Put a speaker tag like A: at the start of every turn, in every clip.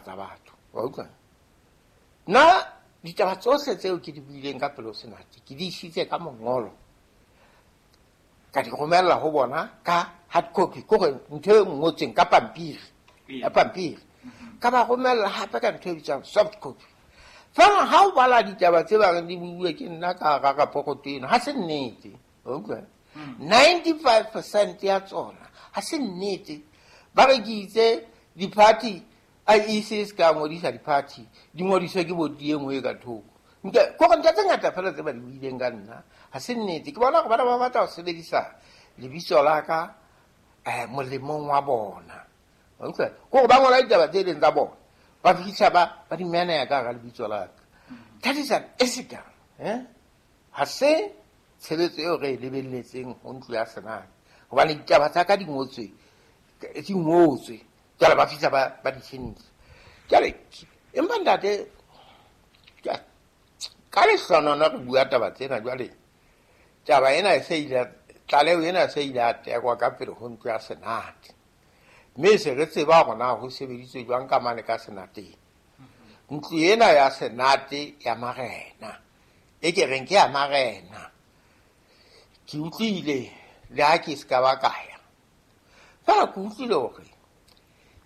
A: ditaba tsa batho. Wa utlwa? Nna ditaba tsohle tseo ke di buileng ka pele ho senate ke di isitse ka mongolo, ka di romella ho bona ka hard copy, ke hore ntho e ngotsweng ka pampiri, ya pampiri. Ka ba romella hape ka ntho e bitswang soft copy. Fela ha o bala ditaba tse ba reng di buuwe ke nna ka hara raporoto eno, ha se nnete. Wa utlwa? 95% ya tsona ha se nnete. Ba re ke itse di-party, IEC se ka ngodisa di-party, di ngodiswe ke boti e nngwe e ka thoko. Nke kore ntho tse ngata fela tse ba di buileng ka nna ha se nnete. Ke bona hore bana ba batla ho sebedisa lebitso la ka molemong wa bona. Wa utlwa? Ke hore ba ngola ditaba tse leng tsa bona, ba fihla ba di meneya ka hara lebitso la ka. That is unethical, eh? Ha se tshebetso eo re e lebelletseng ho ntlo ya Senate, hobane ditaba tsa ka di ngotswe, di ngotswe. Jwale ba fihla ba di tjhentjha. Jwale, empa ntate, ka lehlonono re bua taba tsena jwale, taba ena e se ile, tlaleho ena e se ile ya tekwa ka pele ho ntlo ya Senate. Mme se re tseba hore na ho sebeditswe jwang ka mane ka Senateng. Ntlo ena ya Senate ya marena, e ke reng ke ya marena, ke utlwile le ha ke se ka ba ka ya. Fela ke utlwile hore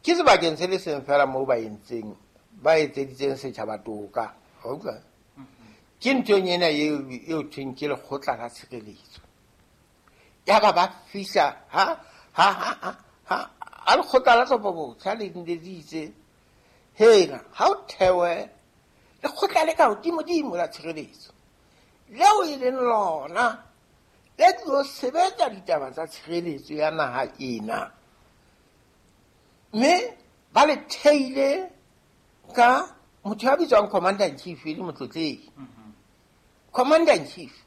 A: ke sebakeng se le seng fela moo ba entseng, ba etseditseng setjhaba toka. Wa utlwa? Ke nthong ena eo thweng ke lekgotla la tshireletso. Yaba ba fihla ha lekgotla la tlhopho botjha le ne le itse, hela, ha o thewe lekgotla le ka hodimodimo la tshireletso, leo e leng lona le tlo sebetsa ditaba tsa tshireletso ya naha ena. Mme ba le theile ka motho ya bitswang Commander in Chief, e le motlotlehi. Commander in Chief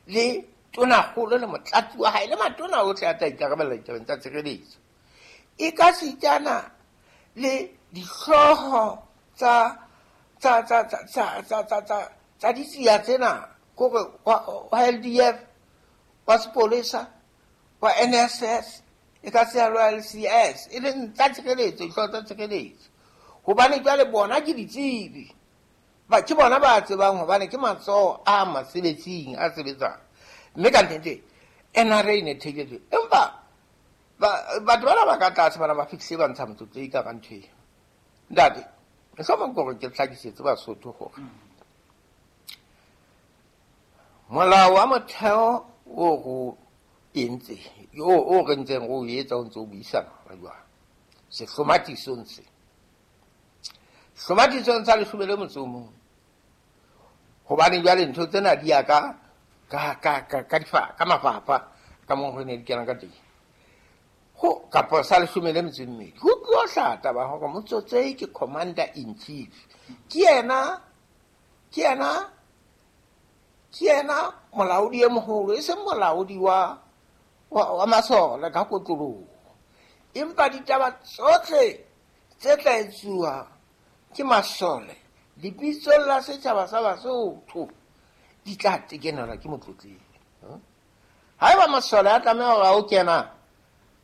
A: le tonakgolo le motlatsi wa hae le matona ohle a tla ikarabella ditabeng tsa tshireletso. E ka sitana le dihlooho tsa ditsia tsena, kore wa LDF, wa sepolesa, wa NSS, e ka se ya le wa LCS, e leng tsa tshireletso, dihlooho tsa tshireletso. Hobane jwale bona ke ditsebi. Ba, ke bona ba tsebang hobane ke matsoho a masebetsing a sebetsang. Mme ka nnete, NRA e ne theile jwang. Empa batho bana ba ka tlase bana ba fihlile ba ntsha motlotlehi ka ntho eo. Ntate, mohlomong ke hore ke hlakisetse Basotho hore molao wa motheo o ro entse, o re ntseng re o etsa o ntse o buisana hona jwale. Sehlomathisong se. Hlomathisong sa leshome le motso o mong. Hobane jwale ntho tsena di ya ka mafapha ka moo re ne di kena ka teng. Ho kapa sa leshome le metso e mmedi. Ho tlo hlaha taba hore Motsotsehi ke Commander in Chief. Ke yena molaodi e moholo, e seng molaodi wa masole ka kotloloho. Empa ditaba tsohle tse tla etsuwa ke masole lebitsong la setjhaba sa Basotho di tla tekenelwa ke motlotlehi. Haeba masole a tlameha hore a o kena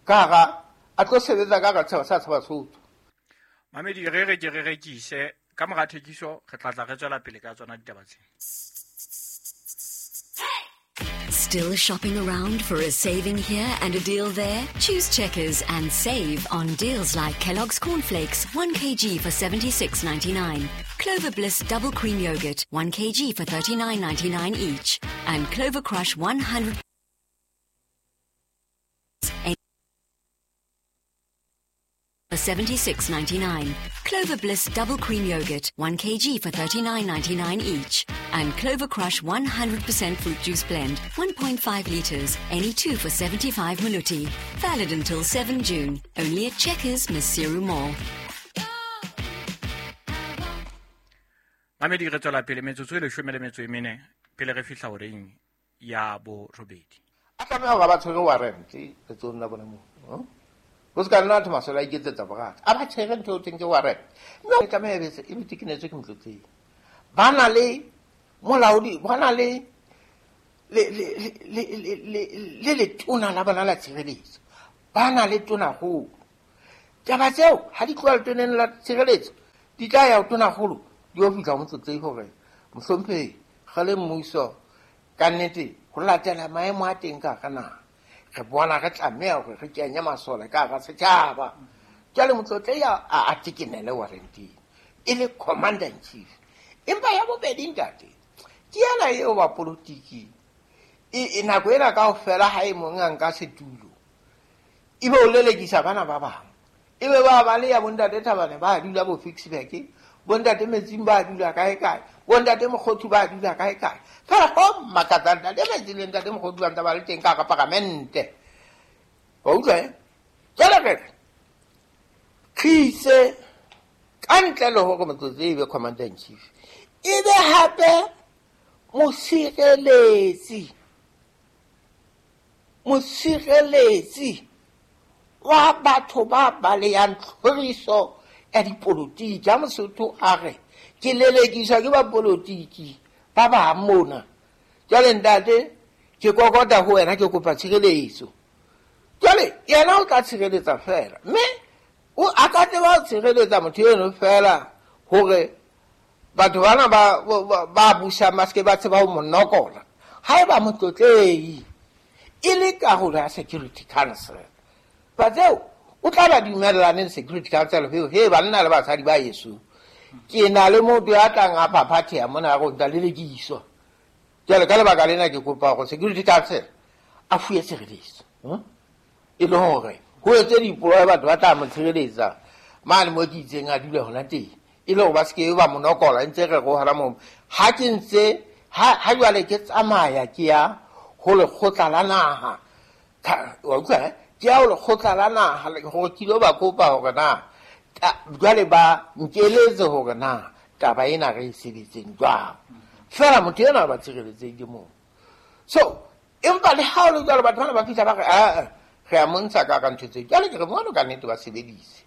A: ka hara, a tlo sebetsa ka hara setjhaba sa Basotho.
B: Mamedi, re re ke re rekise ka mora thekiso, re tla tla re tswela pele ka tsona ditaba tsena.
C: Still shopping around for a saving here and a deal there? Choose Checkers and save on deals like Kellogg's Cornflakes, 1 kg for $76.99, Clover Bliss Double Cream Yogurt, 1 kg for $39.99 each, and Clover Crush 100 for $76.99, Clover Bliss Double Cream Yogurt, 1 kg for $39.99 each, and Clover Crush 100% Fruit Juice Blend, 1.5 litres, any two for 75 Maluti. Valid until 7 June, only at Checkers, Maseru Mall.
B: Mamedi, re tswela pele metsotso e leshome le metso e mene pele re fihla horeng ya borobedi.
A: A tlameha hore ba tshwere warrant letsohong la bona moo. Ho se ka nna batho masole a iketsetsa borata. A ba tshwere ntho eo teng ke warrant. Mme e tlameha e be tekenetswe ke motlotlehi. Ba na le molaodi, ba na le letona la bona la tshireletso. Ba na le tonakgolo. Taba tseo ha di tloha letoneng la tshireletso Di tla ya ho tonakgolo di yo fihla ho Motlotlehi hore mohlomphehi re le mmuso ka nnete ho latela maemo a teng ka hara naha re bona re tlameha hore re kenye masole ka hara setjhaba. Jwale Motlotlehi a tekenele warranteng e le commander in chief. Empa ya bobedi ntate ke ena eo ba politiki e nako ena kaofela ha e mong a nka setulo ebe o lelekisa bana ba bang, ebe ba ba le ya bontate Thabane ba dula bo Ficksburg, bontate Metsing ba dula kae kae, bontate Mokgothu ba dula kae kae. Fela ho makatsa ntate Metsing le ntate Mokgothu ba ntse ba le teng ka hara paramente. Wa utlwa eh? Jwale re re ka ntle le hore Motlotlehi ebe commander in chief, ebe hape mosireletsi wa batho ba balehang tlhoriso ya dipolotiki. Ha Mosotho a re ke lelekiswa ke ba polotiki ba bang mona, jwale ntate ke kokota ho wena ke kopa tshireletso. Jwale yena o tla tshireletsa fela, mme o a ka tseba ho tshireletsa motho eno fela hore batho bana ba busang ba seke ba tseba ho mo nokola. Haeba Motlotlehi e le karolo ya Security Council, ba tseo o tla ba dumellane le Security Council he banna le basadi ba yeso ke na le motho ya tlang a phaphatheha mona a re o ntsa lelekiswa. Jwale ka lebaka lena ke kopa hore Security Council a fuwe tshireletso e le hore ho etse dipolao batho ba tla mo tshireletsa mane mo ke itseng a dule hona teng, e le hore ba seke ba mo nokola ntse re go hona moo. Ha ke ntse ha jwale ke tsamaya ke ya ho lekgotla la naha, wa utlwa ke ya ho lekgotla la naha hore ke ilo ba kopa hore na jwale ba nkeletse hore na taba ena re e sebetseng jwang. Fela motho ena ba tshireletseng ke moo. So empa le ha o le jwalo batho bana ba fihla ba re a re a montsha ka ntho tse jwale ke re mono ka nnete ba sebedise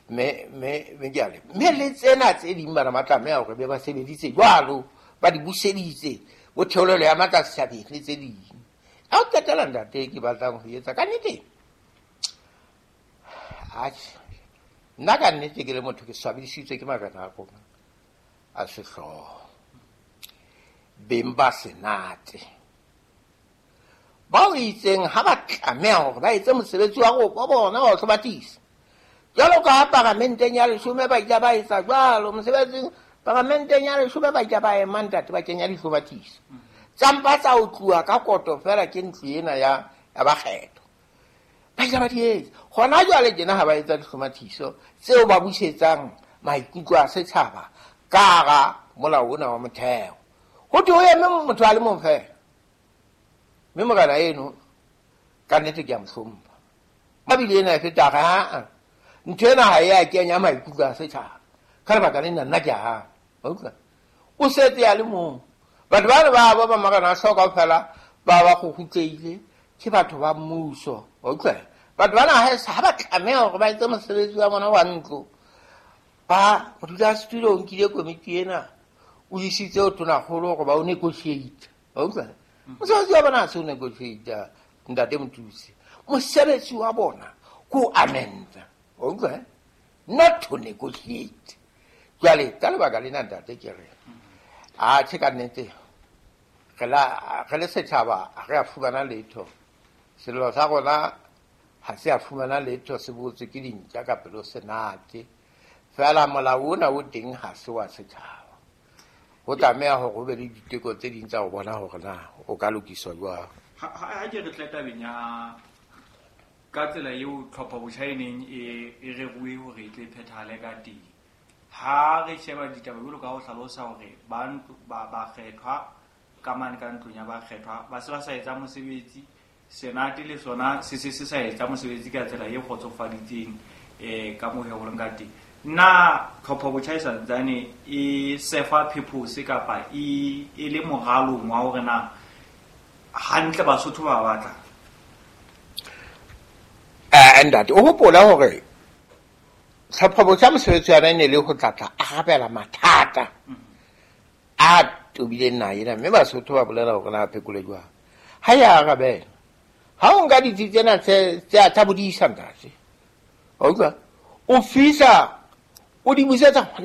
A: mme jwale mme le tsena tse ding bana ba tlameha hore be ba sebeditse jwalo, ba di buseditse bo theolelo ya matla setjhabeng le tse ding. Ha o qetela ntate ke batlang ho etsa ka nnete, atjhe nna ka nnete ke le motho ke swabisitswe ke marena a rona a sehlooho, beng ba senate bao itseng ha ba tlameha hore ba etse mosebetsi wa bona wa ho hlobatisa. Jwalo ka ha paramenteng ya leshome ba ile ba etsa jwalo mosebetsing, paramenteng ya leshome ba ile ba ema ntate ba kenya dihlobatiso tsa mpa tsa otluwa ka koto fela ke ntlo ena ya bakgetho. Ba ile ba di etsa. Hona jwale tjena ha ba etsa dihlomathiso tseo ba busetsang maikutlo a setjhaba ka hara molao ona wa motheo, ho thwe ho eme motho a le mong fela. Mme morena eno ka nnete ke a mo hlompha, ba bile ena e feta re aa ntho ena ha e a kenya maikutlo a setjhaba ka lebaka lena nna ke a hana. Wa utlwa? O setse a le mong. Batho bana ba ba marena a hlooho kaofela ba ba kgukgutlehile ke batho ba mmuso. Wa utlwa? Batho bana ha ba tlameha hore ba etse mosebetsi wa bona wa ntlo, ba modulasetulo o nkile komiti ena o isitse ho tonakgolo hore ba o negotiate. Wa utlwa? Mosebetsi wa bona ha se o negotiate ntate Mothusi, mosebetsi wa bona ke ho amenda. Wa utlwa? Not to negotiate. Jwale ka lebaka lena ntate ke re atjhe ka nnete re le setjhaba ha re a fumana letho. Sello sa rona ha se a fumana letho, se botswe ke dintja ka pelo senate. Fela molao ona o teng ha se wa setjhaba. Ho tlameha hore ho be le diteko tse ding tsa ho bona hore na o ka lokiswa jwang.
B: Ha ke re tle tabeng ya ka tsela eo tlhopho botjha e neng e reruwe hore e tle phethahale ka teng. Ha re sheba ditaba jwalo ka ho hlalosa hore ba ntlo ba kgethwa ka mane ka ntlong ya bakgethwa ba se ba sa etsa mosebetsi, senate le sona se se sa etsa mosebetsi ka tsela e kgotsofaditseng ka moo ho leng ka teng. Na tlhopho botjha e santsane e sefa purpose kapa e le moralong wa hore na hantle Basotho ba batla?
A: Ntate o hopola hore tlhopho botjha mosebetsi wa yona e ne le ho tlatla arabela mathata a tobileng naha ena, mme Basotho ba bolela hore na phekole jwang. Ha ya arabela. Ha o nka ditsi tsena tsa bodisa ntate, wa utlwa? O fihla o di busetsa hona